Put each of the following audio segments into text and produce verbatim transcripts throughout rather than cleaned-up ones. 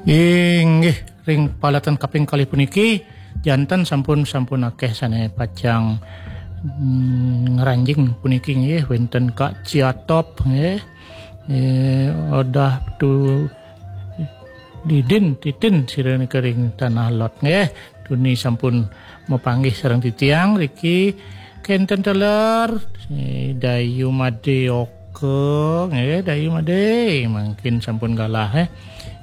Inggih, ring paletan kaping kalih puniki, janten sampun, sampun akeh sane pacang, mm, ngranjing puniki nggih, wenten Kak Ciatop nggih. Eh, Odah Tu Didin Titin sira nika ring Tanah Lot nggih. Tuni sampun mapanggih sareng titiang riki kenten teler, eh, Dayu Made Oka nggih, Dayu Made mangkin sampun galah, eh.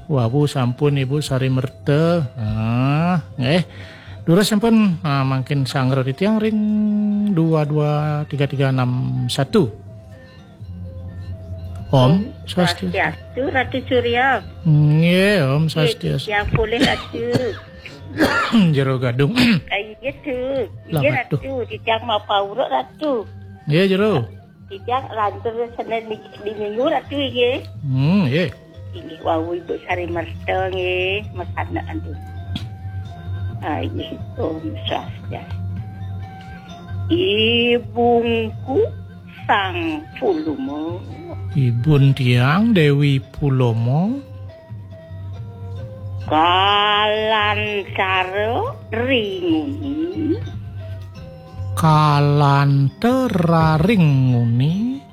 Wawu sampun Ibu Sari Merta. Ah, nggih. Durus sampun, ah, mangkin sangra titiang ring dua dua tiga tiga enam satu. Om Swastiastu. Swastiastu, Ratu Surya. Nggih, Om Nggih, Swastiastu. Yang boleh Ratu. Jero gadung. Ah, iya, Tu. Lah, Iya, Ratu. Ratu. Titiang mau pauruk, Ratu. Nggih, jero. Titiang lantur senen di, di minggu, Ratu, nggih. Hmm, nggih. Inggih wau Ibu Sari Merta, nggih, masanak, aduh. Ah, inggih, Om Swastiastu. Ibungku Sang Puluma. Ibun tiang Dewi Puloma. Kalantara ringuni. Kalantara ringuni.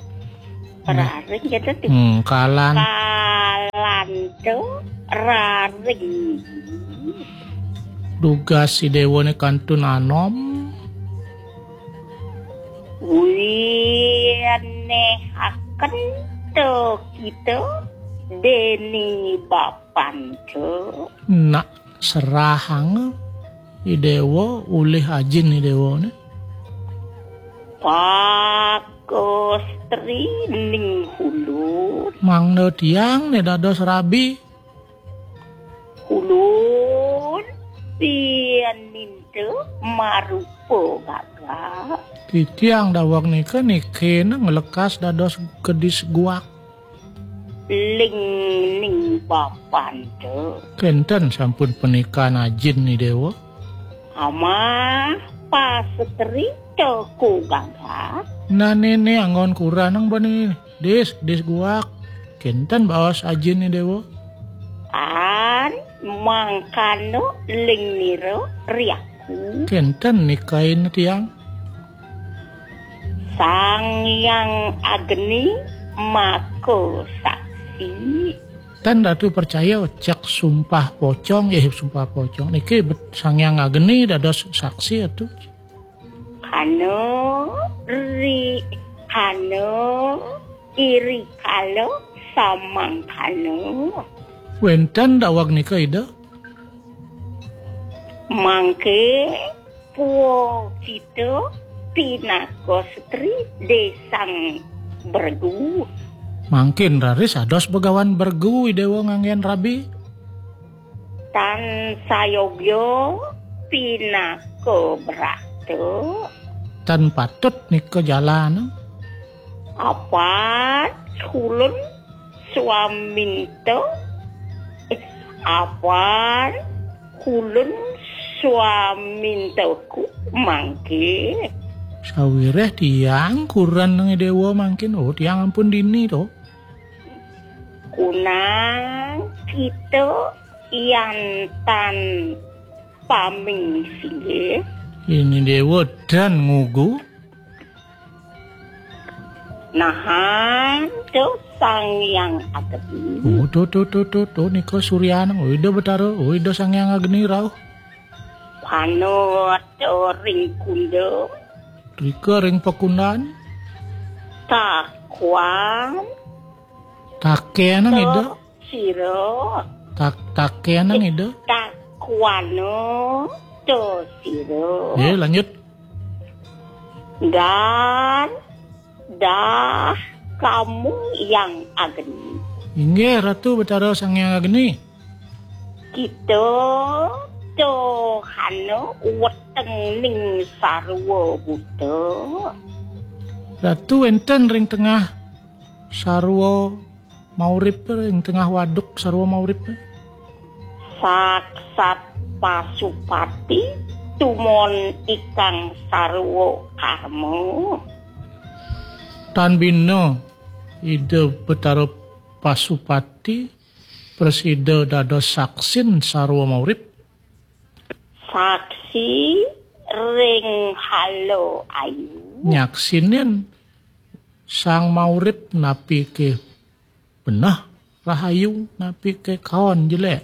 Raring gitu tuh. Hmm, kalan. Kalantara ringuni. Dugas Idewa ne kantun anom. Winehaken to kita deni bapanta. Nak serahang Idewa ulih ajin Idewa ne. Pakostri ning hulun. Mangda tiang ne dados rabi. Hulun pianinta marupa gagak. Titiang daweg nika nikena nglekas dados kedis guak. Ling ning bapanta. Kenten sampun panikan ajin Idewa. Amah pasatri toko gagak. Nanene anggon kuranang bani dis, dis guak. Kenten baos ajin Idewa. Tan mangkana ling nira riaku. Kenten nikain tiang. Sang Hyang Agni maka saksi. Tan Ratu percaya cek sumpah pocong, eh, sumpah pocong. Niki bet-, Sang Hyang Agni dados saksi atu. Kana ri, kana iri kala samangkana. Wenten daweg nika Ida? Mangke puwa kita pinaka setri desang bergu. Mangkin raris ados begawan bergu Idewa nganggen rabi. Tan sayogya pinaka brata. Tan patut nika jalan. Apat kulun swaminta, eh, apan kulun swamintaku mangke. Sawireh tiang kuranang Idewa mangkin, oh, tiang ampun dini to. Kunang kita yan tan paming singgih. Ini Dewa dan ngugu. Nahan to Sang Hyang Agni. Oh, to, to, to, to, to, nika suryanang. Oh, Ida Betara. Oh, Ida Sang Hyang Agni rauh. Panut ring kunda. Rika ring pakundan. Takuan. Takenang Ida. Sira. Tak, takenang Ida. Takuana to sira. Ya, lanjut. Dan dah kamu yang agni. Inggih, Ratu Betara Sang Hyang Agni. Kita tohana weteng ning sarwa buta. Ratu wenten ring tengah sarwa maurip, ring tengah waduk sarwa maurip. Saksat Pasupati tumon ikang sarwa karma. Tan bina Ida Betara Pasupati Prasida dados saksin sarwa maurip. Saksi ring halo ayu. Nyaksinin sang maurip napi ké beneh rahayu, napi ké kaon jelék.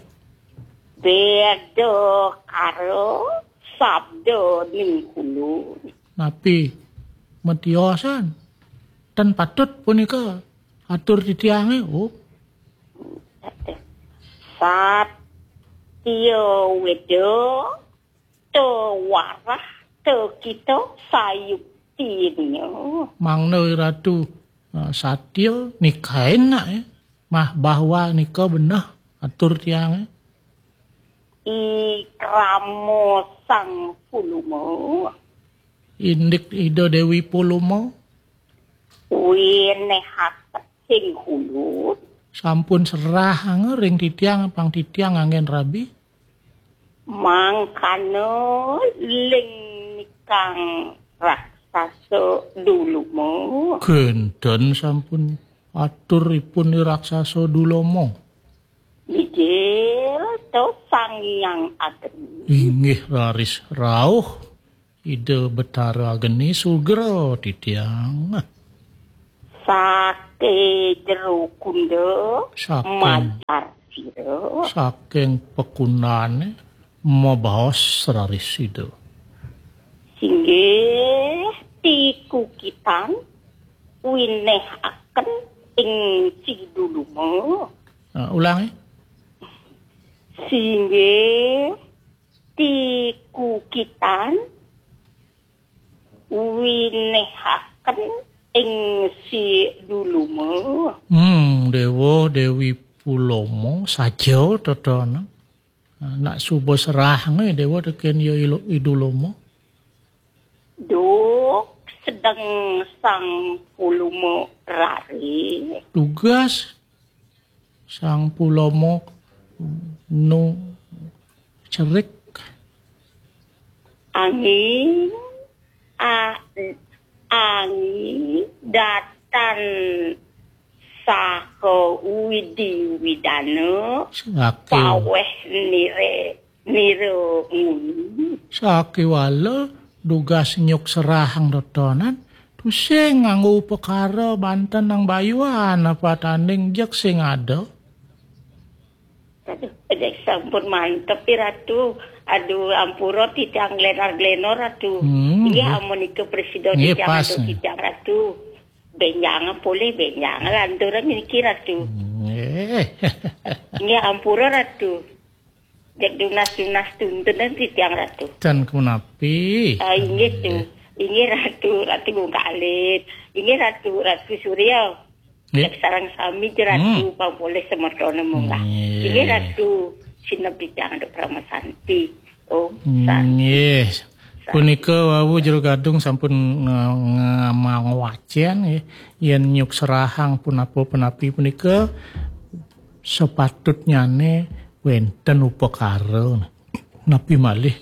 Beda karo sabda ning kulun. Napi matiosan? Ten patut punika atur titiangé. Oh. Satya weda, te warah, te kita sayuktinya. Mangda Ratu, eh, satya nikain nak, eh. Mah bahwa nika beneh atur tiangé. I krama Sang Puluma. Indik Ida Déwi Puluma. Winéhaken sing kulun. Sampun serahanga ring titiang, pang titiang nganggén rabi. Mangkana ling nikang raksasa Duluma. Kénten sampun aturipun i raksasa Dulama. Mijil to Sang Hyang Agni. Inggih raris rauh Ida Betara Agni sugra titiang. Saké jero kunda. Saking majar sira. Saking pekundané mabaos raris Ida. Singgih tikukitan winéhaken ing Siduluma. Ah, ulangi. Singgih tikukitan winéhaken ing Siduluma. Hmm, Déwa Déwi Pulama saja tetana. Nak suba serahanga Déwa tekén ya ilo-, Idulama. Duk sedeng Sang Puluma raris. Dugas Sang Pulama nu cerik. Anging, a-, anging datan saha widi-widana. Saké. Pawéh nire-, nira nguni. Sakéwala dugas nyuk serahang dotonan, tusing nganggo upakara banten nang bayuan apa tanding jeg sing ada. Aduh, dek sampun mantep, I Ratu. Aduh, ampura titiang glenar-glenar, Ratu. Hmm, inggih, nggih. Amunika prasida. Nggih, titiang pas, antuk nggih. Titiang, Ratu. Benjang polih, benjang lanturan niki, Ratu. Nggih. Nggih, ampura, Ratu. Dek dunas-dunas tuntunan titiang, Ratu. Ten kemenapi. Ah, inggih, Tu. Nggih. Inggih, Ratu. Ratu Gung Kalit. Inggih, Ratu. Ratu Surya. Nggih. Sareng sami, Ratu, hmm. Pang polih semetone munggah. Nggih. Inggih, Ratu, sineb titiang antuk parama santi. Om Santi. Nggih. Santi. Punika wau Jero Gadung sampun nge-, nge-, ngwacén, nggih. Yén nyuk serahang punapa-punapi punika sepatutnyane wénten upakara. Napi malih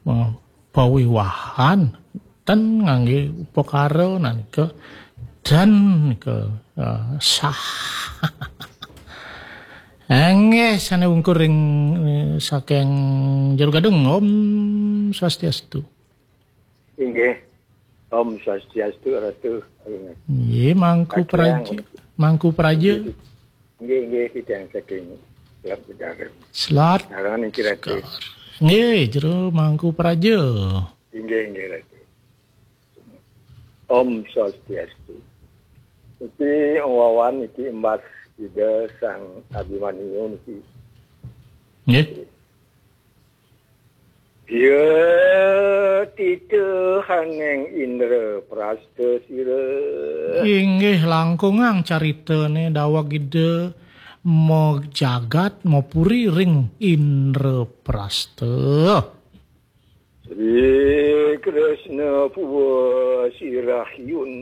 eh, pawiwahan ten nganggé upakara nanika dan nika, eh, sah. Enggih, sane wungkur ring, eh, saking Jero Gadung. Om Swastiastu. Inggih. Om Swastiastu, Ratu. Nggih, Mangku Praja. Mangku Praja. Nggih, nggih, titiang saking Selat Bedarem. Selat. Sareng niki, Ratu. Nggih, Jero Mangku Praja. Inggih, inggih, Ratu. Om Swastiastu. Niki wawan niki embas Ida Sang Abimanyu niki. Nggih. Ya, titihaning Indra Prasta sira. Inggih langkungang caritane daweg Ida majagat mapuri ring Indra Prasta. Sri Kresna puwa sirahyun.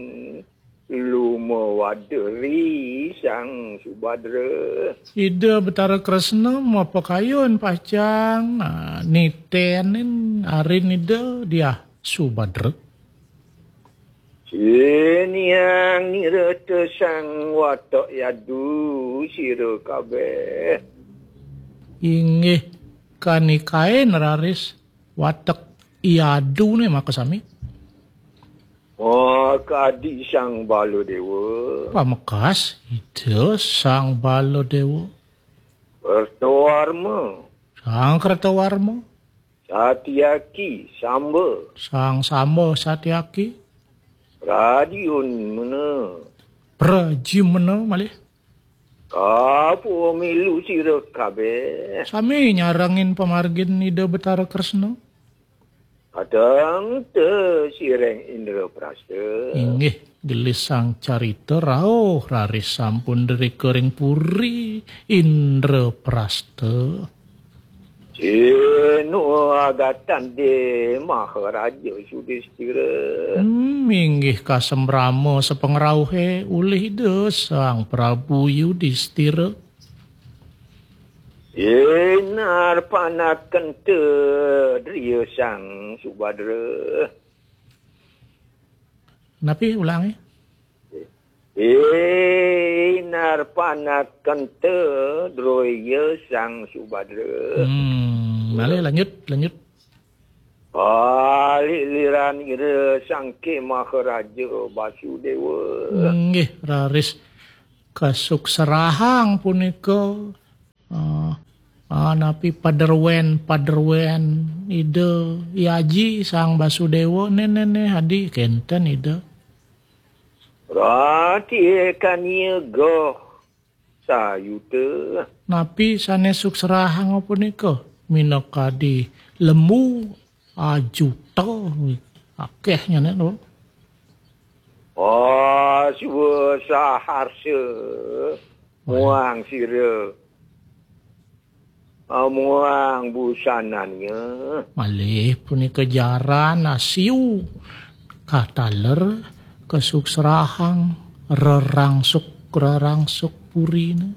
Lumawada ri Sang Subadra. Ida Betara Kresna mapakayun pacang, ah, nitenin arin Ida Diah Subadra. Siniang nirata sang watak yadu sira kabeh. Inggih kanikain raris watek iadu né makasami. Oh, kadi Sang Baladewa. Pamekas Ida Sang Baladewa. Kertawarma. Sang Kertawarma. Satyaki, Samba. Sang Samba Satyaki. Pradyumna. Pradyumna malih. Kapamilu sira kabéh. Sami nyarengin pamargin Ida Betara Kresna. Kadang te sireng Indraprasta. Inggih, gelis sang carita rauh raris sampun drika ring puri Indraprasta. Sinu agatan de Maharaja Yudistira. Hmm, inggih kasembrama sapangrauhé ulih Ida Sang Prabu Yudistira. Inar panaken te driya Sang Subadra. Napi ulangé? Inar panaken te driya Sang Subadra. Hmm, malih lanjut, lanjut. Kaliliran ira Sangke Maharaja Basudéwa. Inggih, raris kasuksrahang punika. Ah, ah, napi padruén, padruén Ida Yaji Sang Basudéwa, né, né, né, adi kénten Ida. Rati kaniga sayuta. Napi sané suksrahang punika? Minakadi lembu ajuta, akéh nyané to. Aswa saharsa muang sira. Amuang busananya. Malih punika jaran asiu kataler kasuksrahang rerangsuk-rerangsuk purina.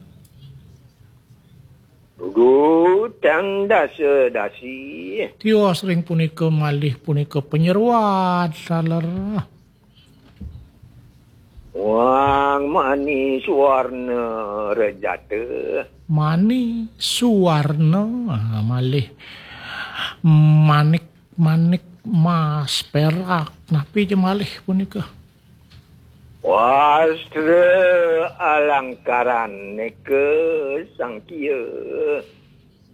Gutang dasa dasi. Tios ring punika malih punika panyeruan taler. Wang mani suwarna rejata. Mani suwarna, ah, malih manik, manik mas perak. Napi ja malih punika? Wastra alangkaran nika sangkia.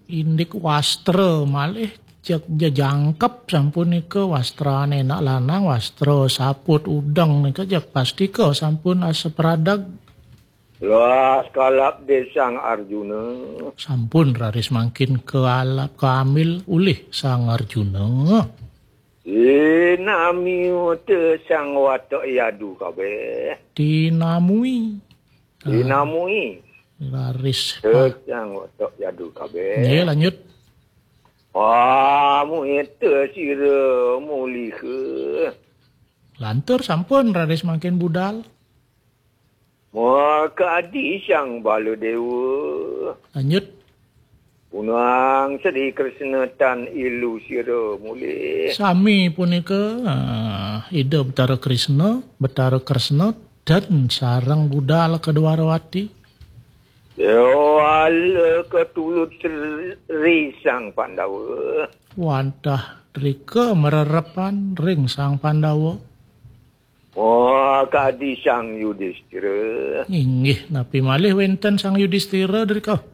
Indik wastra malih jeg jejangkep sampun nika wastrane anak lanang, wastra saput udeng nika jeg pastika sampun asepradeg. Las kalap desang Arjuna. Sampun raris mangkin kealap keambil ulih Sang Arjuna. Tinamiuta Sang Watak Yadu kabeh. Tinamui. Tinamui. Raris. Te Sang Watak Yadu kabeh. Nggih, lanjut. Pamuita sira muliha. Lantur sampun raris mangkin budal. Makadi Sang Baladewa. Lanjut. Punang Sri Kresna tan ilu sira mulih. Sami punika, ah, Ida Betara Kresna, Betara Kresna dan sareng budal ka Dwarawati. Déwala ketulut Sri Sang Pandawa. Wantah drika marerepan ring Sang Pandawa. Oh, kadi Sang Yudistira. Inggih, napi malih wénten Sang Yudistira drika?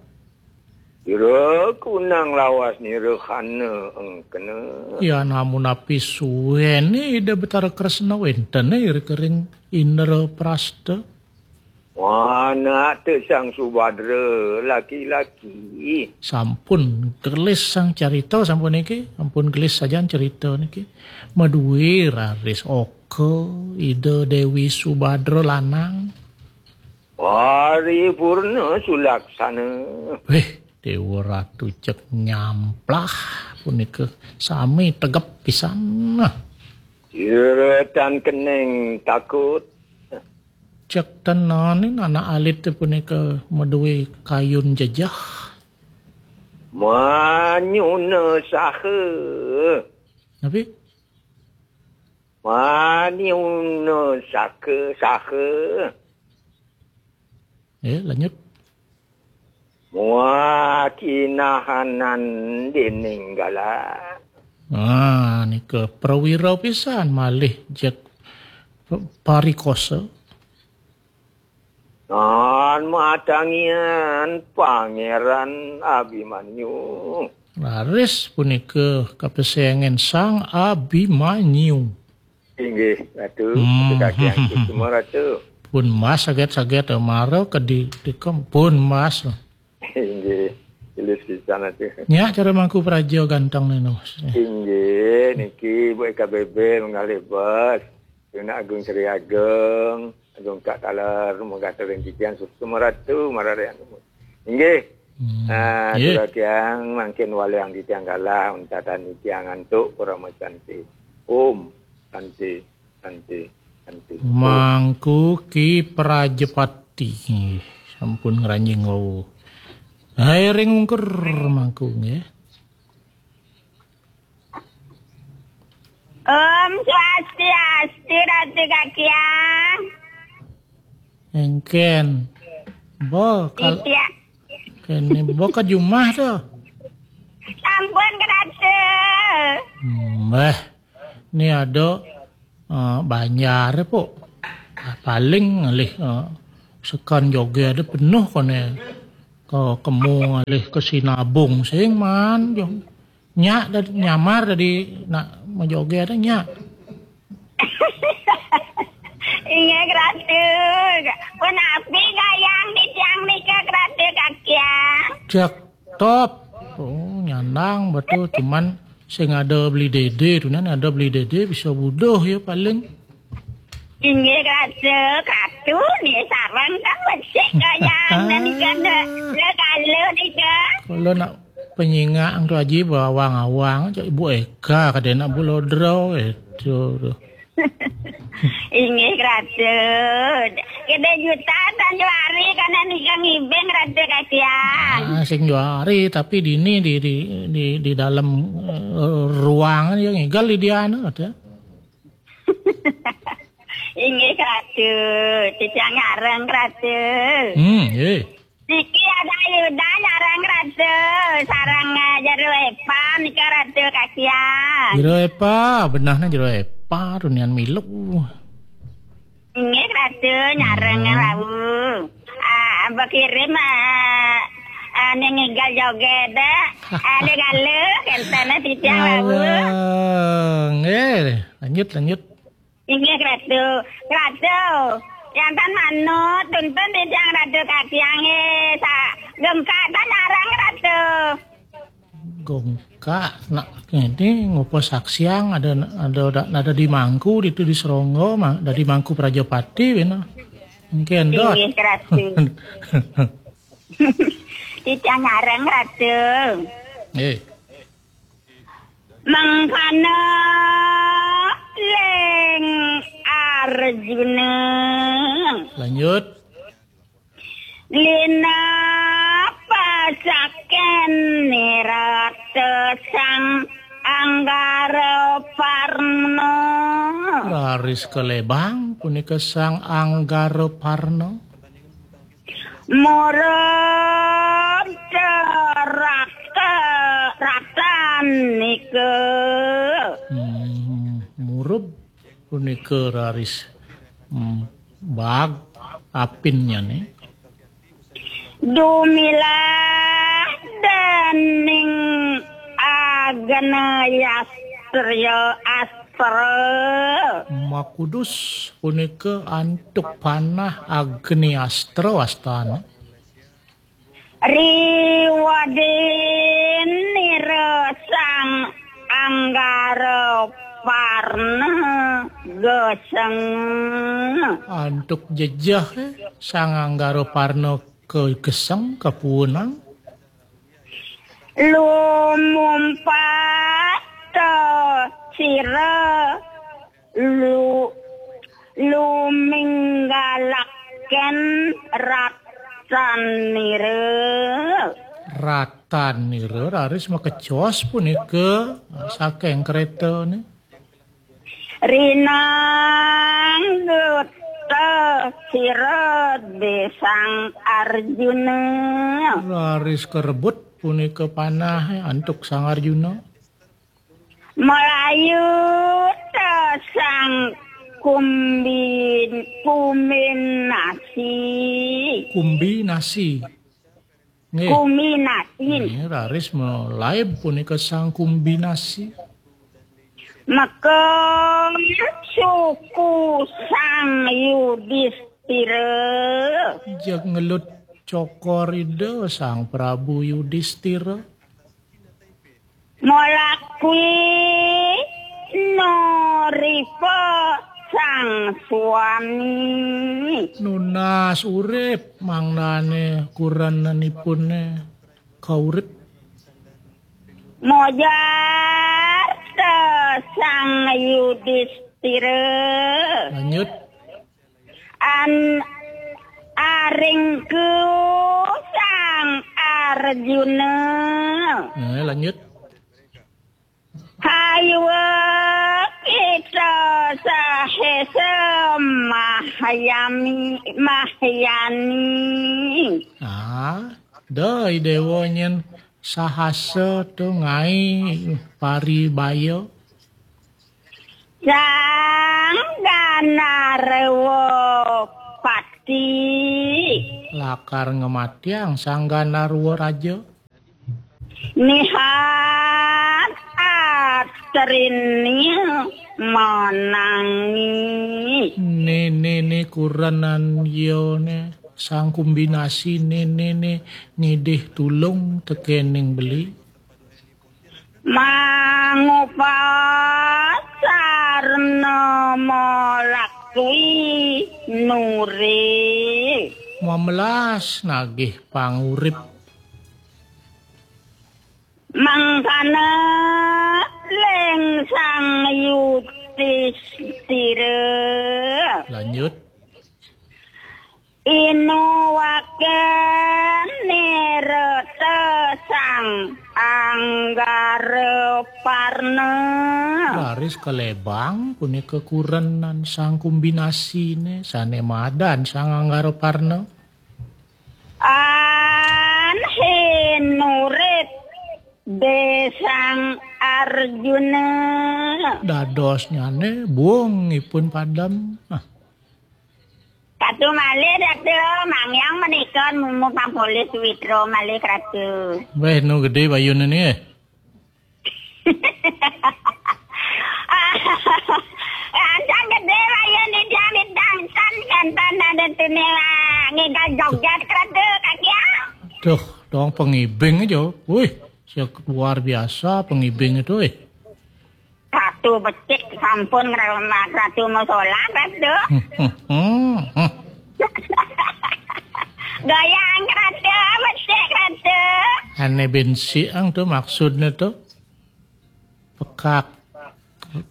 Ira kunang lawas nira hana engkena. Ya, namun napi suwéné Ida Betara Kresna wénten drika ring Indraprasta. Anak te Sang Subadra laki-laki. Sampun gelis sang carita sampun niki, sampun gelis sajan carita niki. Madué raris oka Ida Déwi Subadra lanang. Paripurna sulaksana. Wéh, Déwa Ratu cek nyamplah punika sami tegep pisan. Sira tan keneng takut. Cek tenanin anak alit punika madué kayun jejeh. Manyuna saha. Napi? Manyuna saka saha. Eh, lanjut. Muah kinahanan dening galah. Ah, nika prawira pisan malih jeg parikosa. Nan matangian Pangeran Abimanyu. Raris punika kapesengen Sang Abimanyu. Inggih, Ratu. Hmm. Ratu Kaki Angku semua, Ratu. Pun mas saget-saget, mara ke di, di kem-, pun mas. Inggih, tulis pisan, Ratu. Nya cara mangku praja ganteng ni, Nus. Inggih, niki Bu Eka Bebe mengalih bos. Tuna Agung Sri Agung, Agung Kak Taler, mengatakan titiang semua, Ratu, mararian. Inggih. Hmm, ah, nggih. Kula tiang mangkin waliang titiang galah, untatan titiang antuk Parama Santi. Om Santi, Santi, Santi. Mangku Ki Prajapati. Sampun ngranjing wau. Hai ring ungkur mangku nggih. Om Swastiastu, Ratu Kakiang. Engken. Bo, kal-, Iya. Kene bo ke jumah to. Sampun, Ratu. Mbah, ni ada, eh, banjar, Pok. Paling ngalih, eh, sekan joge ada penuh kone ke kemu ngalih ke Sinabung sing man, jong. Nya dadi nyamar dadi nak majoge ada nya. Inggih, Ratu. Punapi gayang titiang nika, Ratu Kakiang? Cek top. Oh, nyandang betul, cuman sing ada beli dede tu, nan ada beli dede bisa buduh ya paling. Inggih, Ratu. Ratu ni sarang kan becik gayang nan ikan le kala nika. Kalau nak penyingak tu aji bawang-awang, cak Ibu Eka kada nak bulodro itu tu. Inggih, Ratu. Kita juta tan juari kana nika ngibing, Ratu Kakiang. Ah, sing juari, tapi dini di, di, di, di dalam, eh, ruang dia ngigal di dia anu ada. Inggih, Ratu. Titiang nyareng, Ratu. Hmm, nggih. Niki ada Yuda nyareng, Ratu. Sareng, eh, Jero Epa nika, Ratu Kakiang. Jero Epa, benahnya Jero Epa, runian milu. Inggih, Ratu, nyareng, hmm, wau. Ah, bekirim, ah, ah, ning ngigal joget, ah. Ah, ning galuh, kenten titiang wau. Halo. Nggih, lanjut, lanjut. Inggih, Ratu. Ratu, jantan manut, tuntun titiang Ratu Kakiang, eh, sa-, gengkak tan nyareng, Ratu. Gongkak, nak ini ngupa saksiang ada, ada, ada, ada di Mangku, itu di Seronggo, ma-, ada di Mangku Prajapati, bina. Mungkin dot. Inggih, Ratu. Titiang nyareng, Ratu. Eh. Mangkana ling Arjuna. Lanjut. Lina pasaken nirata Sang Anggara Parna. Raris kalebang punika Sang Anggara Parna. Murub rata ratan nika. Hmm, murub punika raris, hmm, bag apinnyane. Dumilah dening Agni Astra, Astra. Makudus punika antuk panah Agni Astra wastana. Riwadin nira Sang Anggara Parna geseng. Antuk jejeh, eh, Sang Anggara Parna ke-, geseng, kapuunang. Lumumpat sira lu-, luminggalaken ratanira. Ratanira raris makecos punika saking kretane. Rinanggut Sira Sang Arjuna. Raris karebut punika panah antuk Sang Arjuna. Malayuta Sang Kumbin-, Kumbinasi. Kumbinasi. Nggih. Kumbinasi. Nggih, raris malaib punika Sang Kumbinasi. Maka suku Sang Yudistira. Jeg ngelut cokor Ida Sang Prabu Yudistira. Molakwi noripa Sang Swami. Nunas urip mangdane kurenanipune kaurip. Mojarta Sang Yudistira. Lanjut. An aringku Sang Arjuna. Nah, lanjut. Hayuwa kita sahesa mahyami, mahyani. Ah, dai dewa nyen sahasa tu ngai paribaya. Sang Ganarwa Pati. Lakar ngematiang Sang Ganarwa Raja. Nihat atrini manangi. Nene ne kurenan yone Sang Kumbinasi nene ne ngidih tulung tekening beli. Mangupasarna molakwi nuri. Mamelas nagih pangurip. Mangkana ling Sang Yudistira. Lanjut. Inuwaken nirata Sang Anggara Parna. Raris kalebang punika kurenan Sang Kumbinasine sane madan Sang Anggara Parna. Anhin urip de Sang Arjuna. Dadosnyane buung ipun padem. Nah. Ratu malih, Ratu, mangyang menika mumu pampolis Witra malih, Ratu. Weh, nu gede bayune ni, eh. Ancang gede bayune, Ida, midang tan kantan ada tune, ngigal joget, Ratu, kakia. Duh, dong pengibing aja. Wih, luar biasa pengibing itu, eh. Ratu becik sampun ngremak Ratu musola, Ratu. Goyang Ratu, becik Ratu. Ane bensi ang tu maksudnya tu. Pekak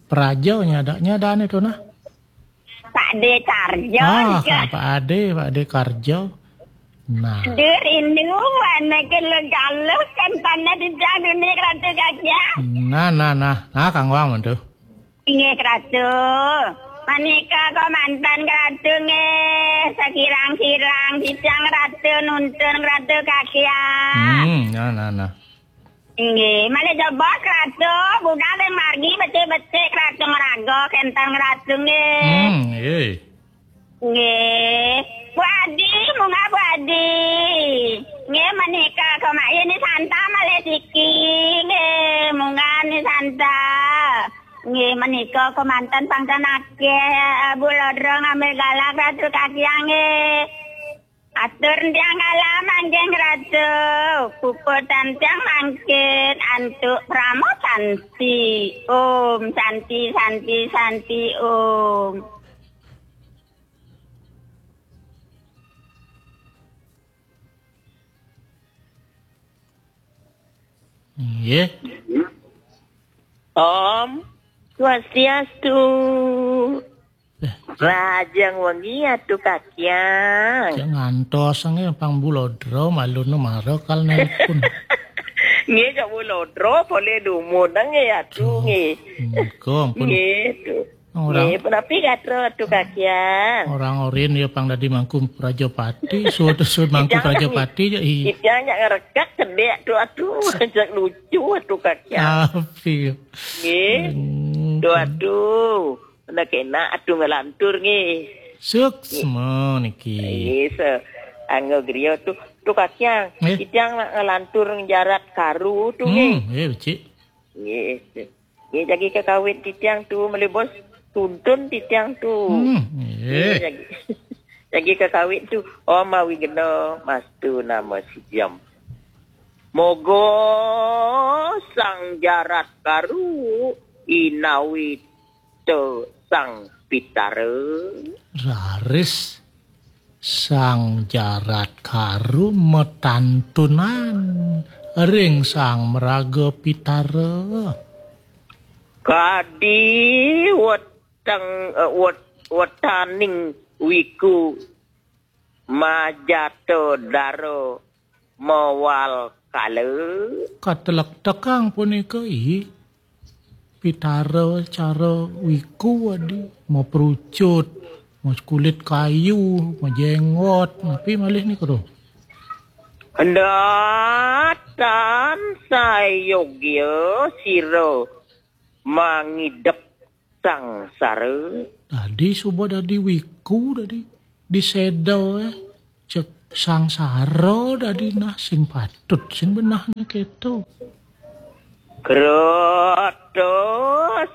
praja nyada, nyadane tu nah. Pak De Karjo. Ah, nika. Pak Ade, Pak De Karjo. Nah. Dur rindu, wana kelo galuh, kan tanah di jadu ni Ratu Gajah. Nah, nah, nah. Nah, Kang Wang, tu. Inggih, Ratu. Manika kemanten Ratu nggih, sekirang-kirang sisang Ratu nuntun Ratu Gajah. Hmm, nah, nah, nah. Inggih, malih jebos Ratu, budal ring margi becik-becik Ratu ngraga kenten Ratu nggih. Hmm, nggih. Nggih. Bu Adi, munggah Bu Adi. Nggih, menika kemaya ni Santa malih siki. Nggih, munggah ni Santa. Nggih, menika kemanten pangten akeh, Bu Lodro ngambil galak Ratu Kakiang nggih. Atur tiang kala manggih Ratu, puput tiang mangkin antuk prama santi. Om Santi, Santi, Santi, Om. Nggih. Om Swastiastu. Eh. Rahajeng wengi Atu Kakiang. Cek ngantos nggih pang Bu Lodro malune mara kal nelpon. Nggih, cek Bu Lodro boleh dumun nggih Atu. Duh, nggih. Nggih, ampun. Nggih, tuh. Orang Nggih, punapi gatra Atu Kakian? Orang orin ya pang dadi mangku prajapati, suud-suud mangku Jangan. Prajapati ya i. Itiang nyak ngerekak kedek tu atu ajak lucu Atu Kakian. Api. Nggih. Hmm. Tu atu. Nak kena atu ngelantur nggih. Suksma niki. Nggih, se anggo griya tu tu Kakian. Nggih. Itiang nak ngelantur ngejarat karu tu nggih. Hmm, eh becik. Nggih. Nggih, jagi kekawit titiang tu melibos tuntun titiang tu. Hmm, Nggih, eh. jagi, jagi kekawit tu Om Awigeno Mastu Nama Sidiam. Moga sang jarat karu inawita sang pitara. Raris sang jarat karu metantunan ring sang meraga pitara. Kadi weteng eh, wet, wetaning wiku majata dara mawal kala. Katelektekang punika i pitara cara wiku adi, maprucut, mas kulit kayu, majenggot, napi malih nika to? Ndatan sayogya sira mangidep sangsara. Dadi suba dadi wiku dadi diseda eh. Cek sangsara dadi nah sing patut sing benah nika to. Krata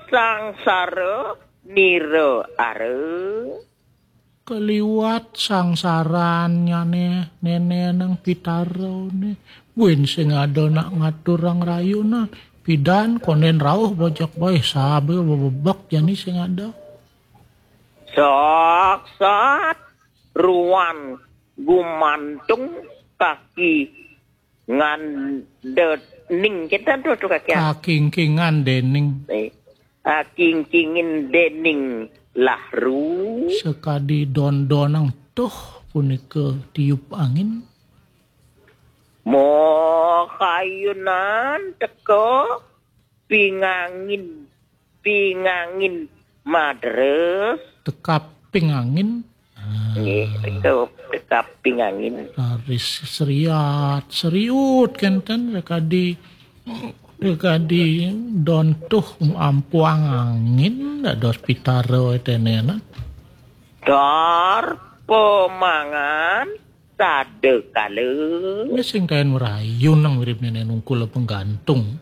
sangsara nira ara. Kaliwat sangsarannyane nene nang pitarane. Buin sing ada nak ngaturang rayunan. Pidan konden rauh bojok bae sabe bebek jani sing ada. Saksat ruan gumantung kaki ngandening. Kita tu tu kaki. Kakingkingan dening. Eh, ah, kingkingin dening lahru. Sekadi dondonang tuh punika tiup angin. Mo kayunan teka pingangin pingangin madres. Tekap pingangin. Nggih, teka teka pingangin. Raris seriat seriut kenten rekadi rekadi dontuh ampuang angin dados pitara tenena. Dar pemangan sadekala. Wis sing kaen merayun nang mirip nenek nungkul penggantung.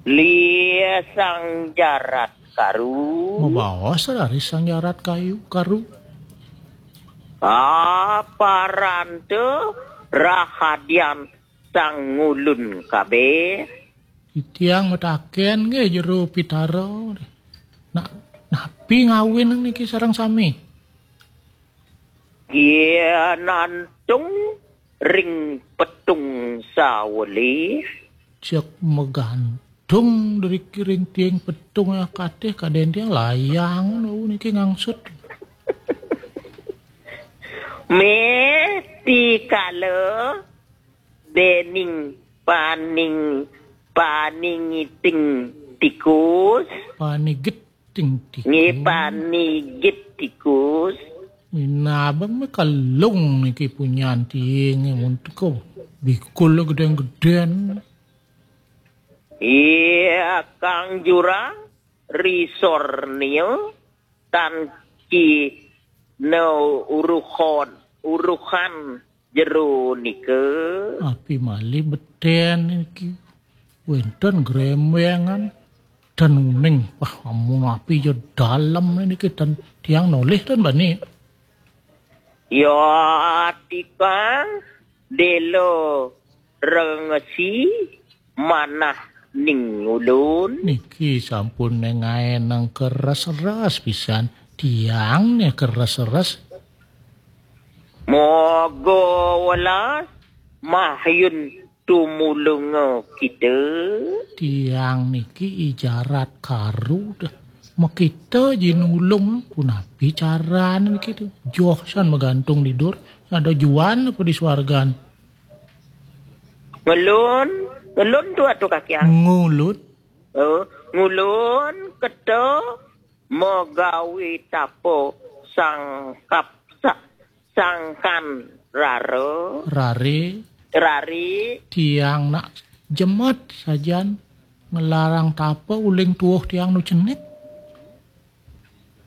Lia sang jarat karu. Mabaos raris sang jarat kayu karu. Aparanta rahadian sang ngulun kabeh. Titiang mataken nggih jero pitara. Nak napi ngawin niki sareng sami? Yen nantung ring petung sawelih. Cek megantung dari kiring tiing petung ya katih kaden tiang layang nu niki ngangsut. Meh tikala dening paning paningiting tikus. Panigit ting tikus. Nggih, panigit tikus. Minabang me kalung niki punyan tiing untuk bikul gedeng-gedeng. Iya, Kang Jurang, risornia tan ki no uruhon uruhan jero nika. Api malih beten niki. Wenten grembengan dan uning. Wah, amun api ya dalem niki dan tiang nolih dan bani. Ya tikang delo rengesi manah ning ulun. Niki sampun nengaenang keres-res pisan. Tiang ne keres-res. Moga welas mahyun tumulunga kita. Tiang niki ijarat karu dah. Makita ji nulung punapi carane niki tu. Joh san magantung di dur. Ada juan apa di swargan? Ngelun, ngelun tu atu kakiang. Ngulut. Oh, ngulun keta magawi tapa sangkap sa, sangkan rara. Rare. Rare. Tiang nak jemet sajan nglarang tapa uling tuuh tiang nu cenik.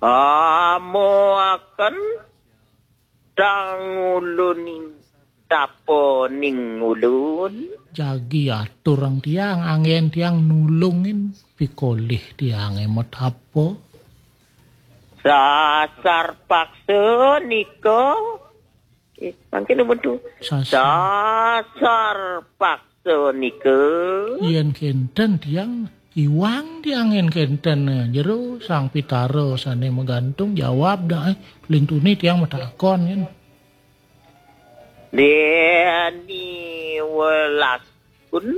Amoaken tangulunin tapa ning ulun. Jagi aturang tiang, anggen tiang nulungin pikolih tiange matapa. Sasar paksa nika. Eh, mangkin numun tu. Sasar. Sasar paksa nika. Yen kenten tiang, iwang tiang yen kenten, eh, jero Sang Pitara sane magantung jawab dah, eh. Lintuni tiang matakon yen. Deni welas pun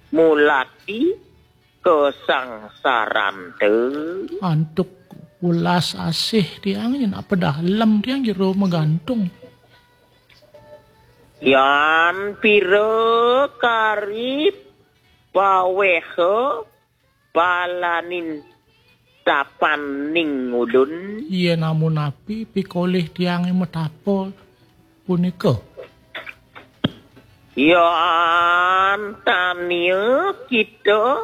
mulati kasangsaranta. Antuk welas asih tiang yen apa dalem tiang jero magantung. Yan pira karip paweha palanin tapaning ulun. Yen amun api pikolih tiange matapa punika. Yan tania kita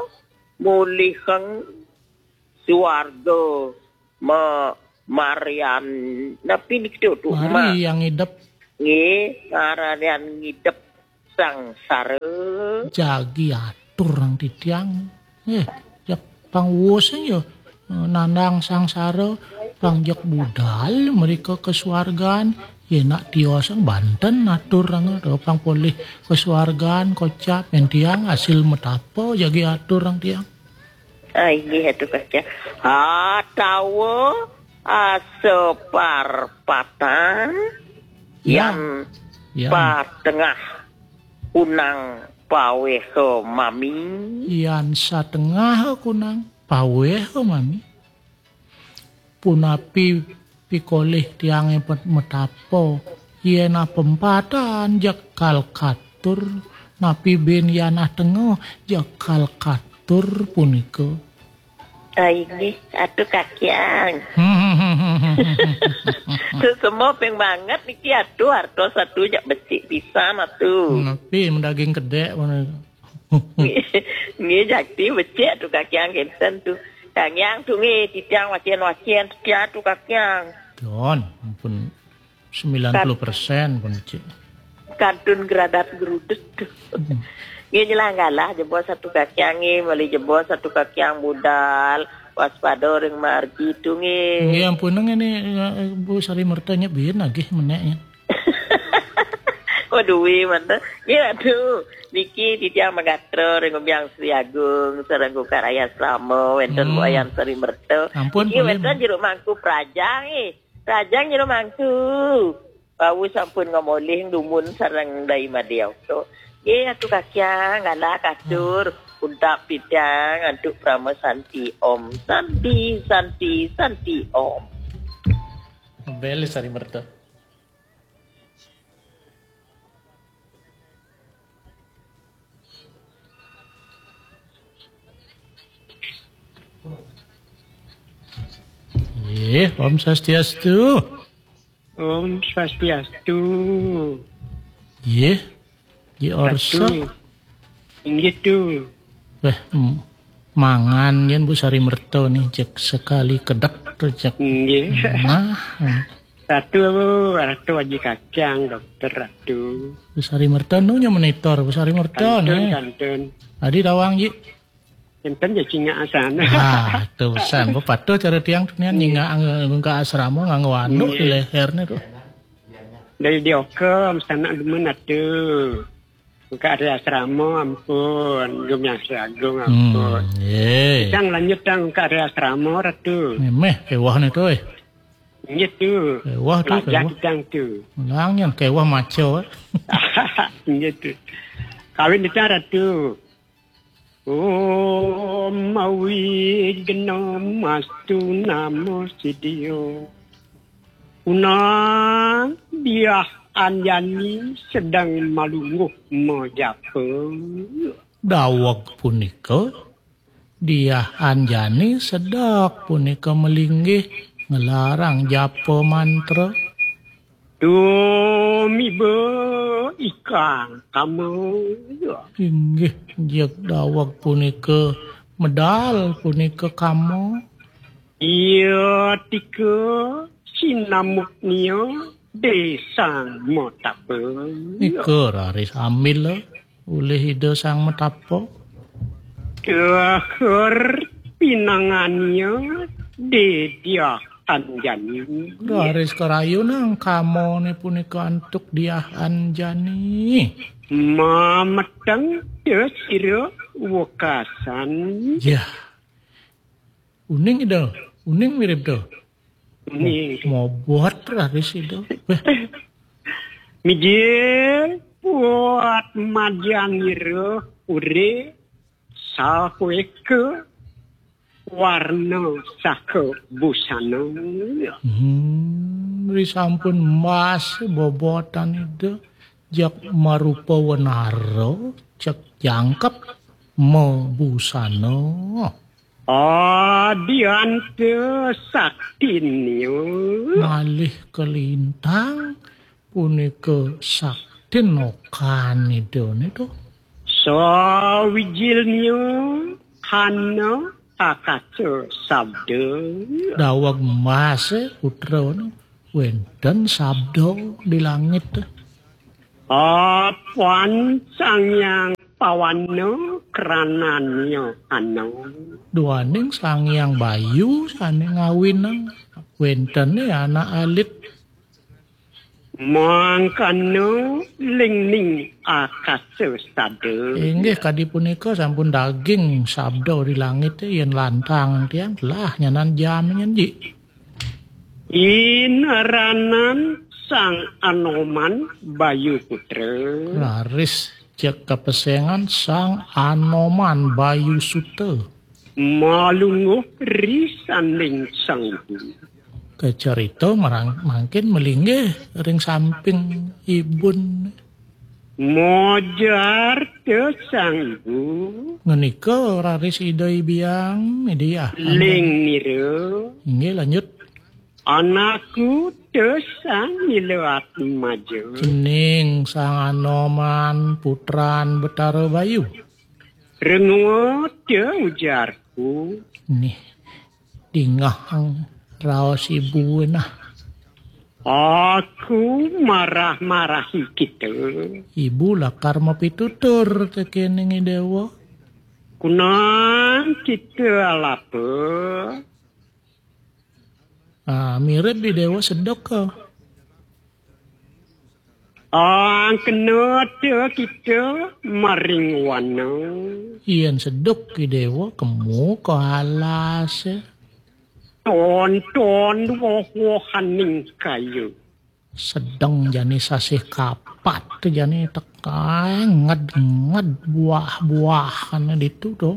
muliheng suarga ma-, marian napi niki tu, tu, ma-, mari yang idep. Nggih, marian ngidep sangsara. Jagi atur nang titiang. Eh, jak pang wus ya. Nandang sangsara, pang jak budal mereka ke suargan. Ya nak tiosang banten atur nang, pang polih ke suargan, kocap, yen tiang hasil metapa jagi atur nang tiang. Ah, inggih, Atu Kacang. Atawa, ah, separpatan. Yan. Yan. Patengah kunang paweha mami. Yan satengah kunang paweha mami. Punapi pikolih tiange pet-, metapa, yen apempatan jekal katur, napi bin yan atengah jekal katur punika. Ah, inggih, Atu Kakiang. Sesemo ping banget niki, Atu, hartos Atu jak becik pisan, Atu. Napi mendaging kedek mana? Nggih, jakti becik tu Kakiang kenten tu. Kakiang tu nggih, titiang wacen-wacen setia tu Kakiang. Don, ampun sembilan puluh persen pun becik. Kantun geradat gerudut tu. Hmm. Nggih, nyelang galah jebos Atu Kakiang nggih, meli jebos Atu Kakiang budal, waspada ring margi tu nggih. Nggih, ampun ngene, eh, Bu Sari Merta nyebin lagi meneknya. Oh, duwe manten. Nggih, Atu. Niki titiang magatra ring Ubyang Sri Agung, sareng Kukar Ayas Rama, wenten Hmm. Wayan Sari Merta. Ampun, niki pun wenten ya. Jeruk mangku prajang, eh. Prajang jeruk mangku. Bau sampun ngamolih dumun sareng Dai Madya Okto. Nggih, Atu Kakiang, galah katur. Hmm. Untak titiang, antuk Parama Santi Om. Santi, Santi, Santi Om. Beli Sari Merta. Nggih, Om Swastiastu. Om Swastiastu. Nggih. Nggih, orsa. Satu. Inggih tu. Weh, m-, mangan yen Bu Sari Merta nih, cek sekali kedek tuh, cek. Nggih. Nah. Ratu, Ratu Aji Kacang, dokter Ratu. Bu Sari Merta nu nya monitor, Bu Sari Merta Kantun, nih. Kantun. Adi tawang, Ji. Enten ya cingak asan. Ah, itu pesan. Bu patuh cara tiang tu nian Hmm. nyingak anggo, anggo ka asrama nganggo anduk di Hmm. leher nih tuh. Dari dioka, sanak demen atu. Buka hari asrama, ampun. Gemiang Sri Agung, ampun. Hmm, ye. Tang lanjut, tang, buka hari asrama, Ratu. Memeh, kewah nih tuh, eh. Nggih tu. Kewah tu, Lajak kewah. Tang tu. Ulang yang kewah maco, eh. Nggih tu. Kawin kita, Ratu. Om Awighnam astu namo siddhyo. Unang Diah Anjani sedang malungguh majapa. Daweg punika Diah Anjani sedek punika melinggih nglarang japa mantra. Tumiba ikang kama. Inggih, jeg daweg punika medal punika kama. Iya tika sinamuknya desang matapa. Nika raris ambil ulih Ida Sang Matapa. Tuhur pinangannya Diah Anjani. Raris karayunang kamane punika antuk Diah Anjani. Mameteng ya sira wekasan. Yah. Uning Ida, uning mirip Ida. Uning. Mo-, mobot raris Ida. Weh. Mijil buat majangira ure saweke warna saka busana. Hmm, risampun emas bobotan Ida, jak marupa wenara, cek jangkep mabusana. Adianta saktinya. Malih kalintang punika saktin okan Idane to. Sawijilnya hana akasa sabda. Daweg emas, eh, putra, no. Wenten sabda di langit. Apan Sang Hyang Pawana krananya ana. Duaning Sang Hyang Bayu sane ngawinang. Wentene anak alit. Mangkana lingning akasa sada. Inggih, kadi punika sampun daging sabda di langit, yen lantang tiang telah nyanan jam nyen ji. Inaranan Sang Anoman Bayu Putra. Raris cek kapesengan Sang Anoman Bayu Suta. Malungguh ri sanding Sang Ibu. Kacarita marang-, mangkin malinggih ring samping ibun. Mojar te Sang Ibu. Ngenika raris Ida Hyang Widhi. Ling nira. Inggih, lanjut. Anakku te Sang Nila Atmaja. Cening Sang Anoman putran Betara Bayu. Rengua te ujarku. Nih, dingeh raos ibu nah. Aku marah-marahi kita. Ibu lakar mapitutur tekening Idewa. Kunang kita alapa. Ah, mirip Idewa sedek ka. Angkena te kita maring wana. Yen sedek Idewa kemu ka alas. Tonton woh-wohaning kayu. Sedeng jani sasih kapat jani tekae nged-nged buah-buahane ditu to.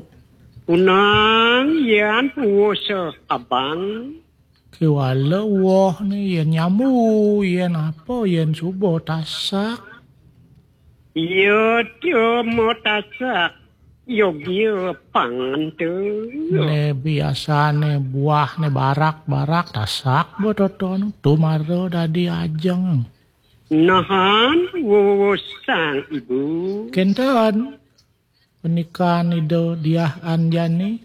Kunang yan puasa abang. Kewala woh ni yen nyambu, yen apa, yen suba tasak. Iya, cuma tasak. Yogia pangan tu. Ne biasane buah ne barak-barak tasak betoton. Tumara dadi ajeng. Nahan wewesang ibu. Kenten. Penikan Ida Diah Anjani.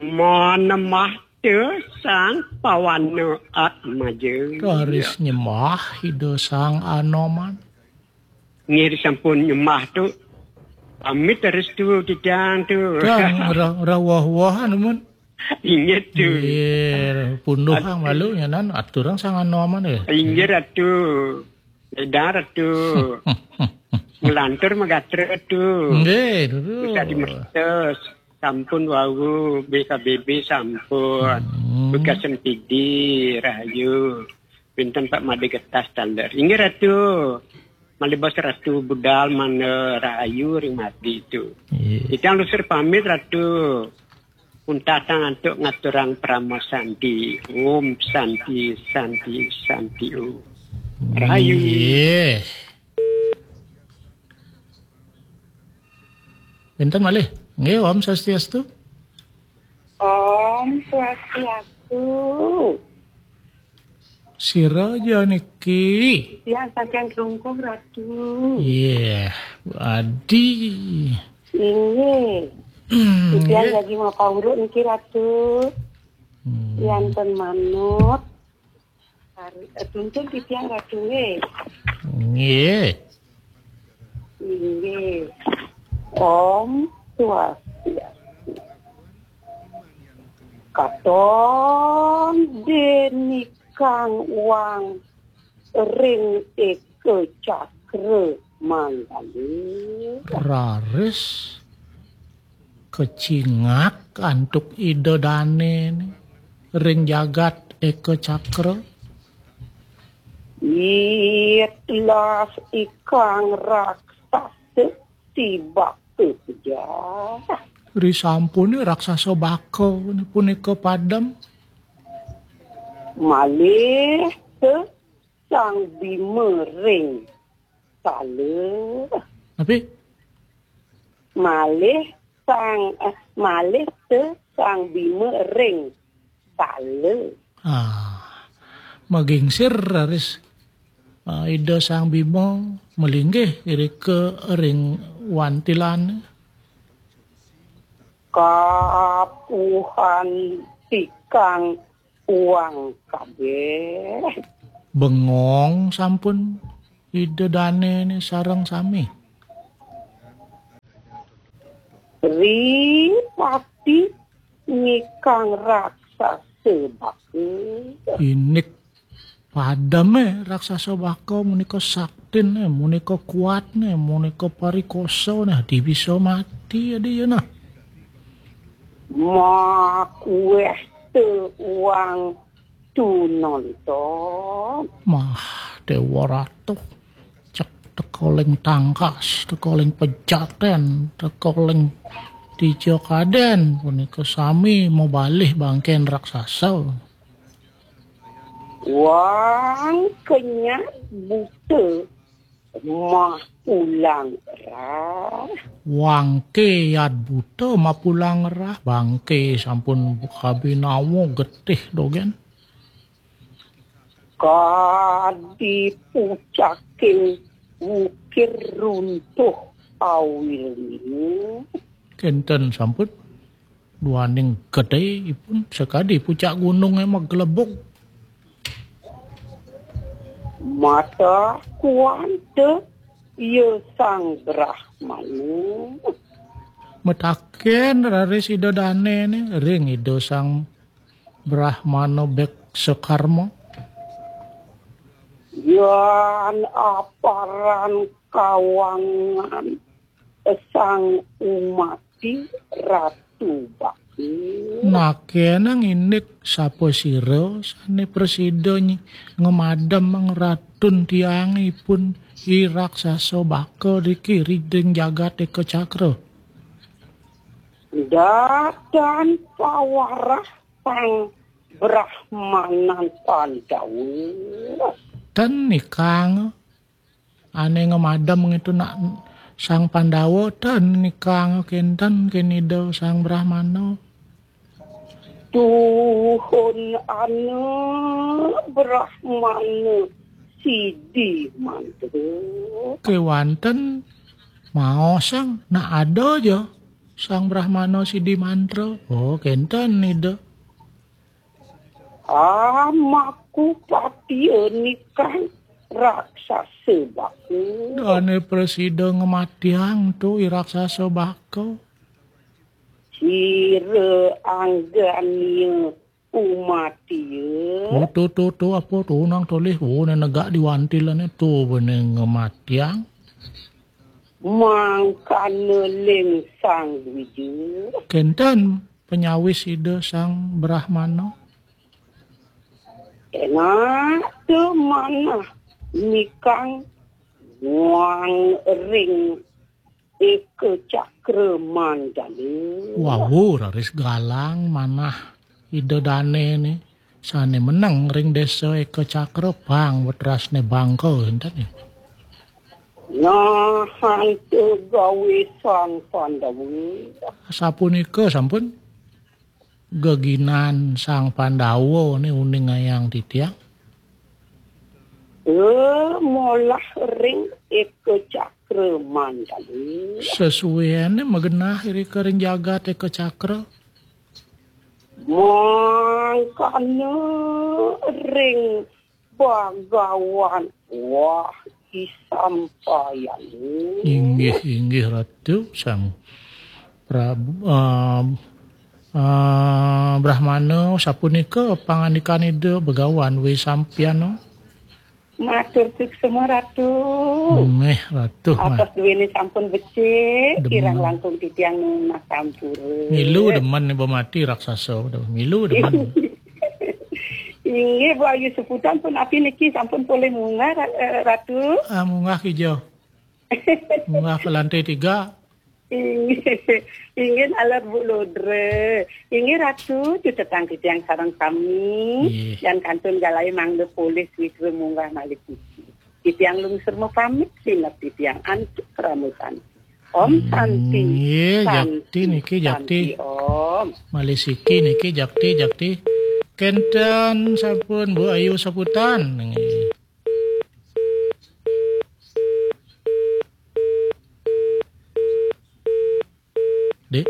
Manemah te Sang Pawana Atmaja. Raris nyembah Ida Sang Anoman. Nggih, sampun nyembah tu. Pamit restu titiang tu. Kang, ora, ora woh-wohan, mun. Inggih tu. Nggih, punduh kang malu nyanan aturang Sang Anoman ya. Inggih, Ratu. Ledang, Ratu. Ngelantur magatra tu. Nggih, Ratu. Bisa dimertos. Sampun wau, B K B B sampun. Hmm. Bekas M P D, rahayu. Pinten Pak Made Getas taler. Inggih, Ratu. Malih bos Ratu budal mana rahayu ring Made tu. Iya. Titiang lusur pamit, Ratu. Untatang antuk ngaturang parama santi. Om Santi, Santi, Santi Om. Rahayu. Iya. Pinten malih? Nggih, Om Swastiastu. Om Swastiastu. Sira ja niki? Tiang saking Klungkung, Ratu. Iya, Adi. Inggih. Hmm, tiang iya. Lagi mau pauruk niki, Ratu. Hmm. Tiang ten manut. Hari, eh, tuntun titiang Ratu nggih. Nggih. Nggih. Om Swastiastu. Katon denikang wang ring eka cakra mandali. Raris kecingak antuk Ida Dane ni ring jagat eka cakra. Itlas ikang raksasa si baka pejah. Risampune raksasa baka ni punika padem. Malih te Sang Bima ring sala. Napi? Malih Sang, eh, malih te Sang Bima ring sala. Ah, magingsir raris, ah, Ida Sang Bima malinggih irika ring wantilan. Kapuhan tikang uang kabeh. Bengong sampun Ida Dane ni sareng sami. Ripati nikang raksasa baka. Inik pademe raksasa baka, munika saktine, munika kuatne, munika parikosane, adi bisa mati adi ya nah. Makueh te uang tunonton. Mah, Dewa Ratu. Cek teka ling tangkas, teka ling pejaten, teka ling dija kaden, punika sami mabalih bangken raksasa. Wang kenyat buta mah pulang rah. Wangke yat buta mah pulang rah, bangke sampun kabinawa getih dogen. Kadi pucaking wukir runtuh awilnya. Kenten sampun duaning gedhe ipun sakadi pucak gununge maglebug. Mata kuanta ya Sang Brahmana. Metaken raris Ida Dane ni ring Ida Sang Brahmana Beksa Karma. Yan aparan kawangan Sang Umati Ratu Bakti. Nakenang indik sapa sira sane prasida nyi-, ngemadem ratun tiang ipun i raksasa baka riki ring jagat eka cakra. Dadan pawarah Sang Brahmanan Pandawa. Ten nikang ane ngemadem ngitu nak Sang Pandawa, ten nikang kenten kinida Sang Brahmana. Tuhun ana Brahmana sidi mantra. Kewanten maosang nak ada ja Sang Brahmana sidi mantra. Oh, kenten nida. Amaku patia nikang raksasa baku. Dane prasida ngematiang tu i raksasa baka. Sira anggania umatia. Oh, tu, tu, tu, apa tu nang tolih? Oh, ne negak di wantilane tu bene ngematiang. Mangkana ling Sang Wija. Kenten penyawis Ida Sang Brahmana. Enak tu manah nikang wang ring eka cakra mandala. Wau raris galang manah Ida Dane ni sane meneng ring desa eka cakra pang wetrasne bangka enten ni. Nah, ante gawe Sang Pandawa. Sapunika sampun. geginan Sang Pandawa ni uning ayang titiang? Eh, molah ring Eka Cakra Mandala. Sesuaiane magenah irika ring jagat Eka Cakra. Mangkana ring Bagawan wah isampayane. Inggih, inggih, Ratu Sang Prabu, ah, ah, Brahmana, sapunika pangandikan Ida Bagawan wé sampayana. Matur suksma, Ratu. Nggih, Ratu. Atos duéné sampun becik, demen. Kirang langkung titiang nunas sampura. Milu demen ibu mati raksasa, milu demen. Inggih, Bu Ayu Seputan pun api niki sampun polih munggah, Ra-, eh, Ratu. Ah, munggah kija. Munggah ke lantai tiga. Inggih, inggih, alat Bu Lodre. Inggih, Ratu, cutetang titiang sareng sami. Inggih. Dan kantun galai mangda polih witra munggah malih niki. Titiang lungsur mapamit, sineb titiang antuk kramasan. Om Santi. Nggih, Santi, jakti niki, jakti. Santi, Om. Malih siki niki, jakti, jakti. Kenten sampun, Bu Ayu Saputan. Nggih. Dik.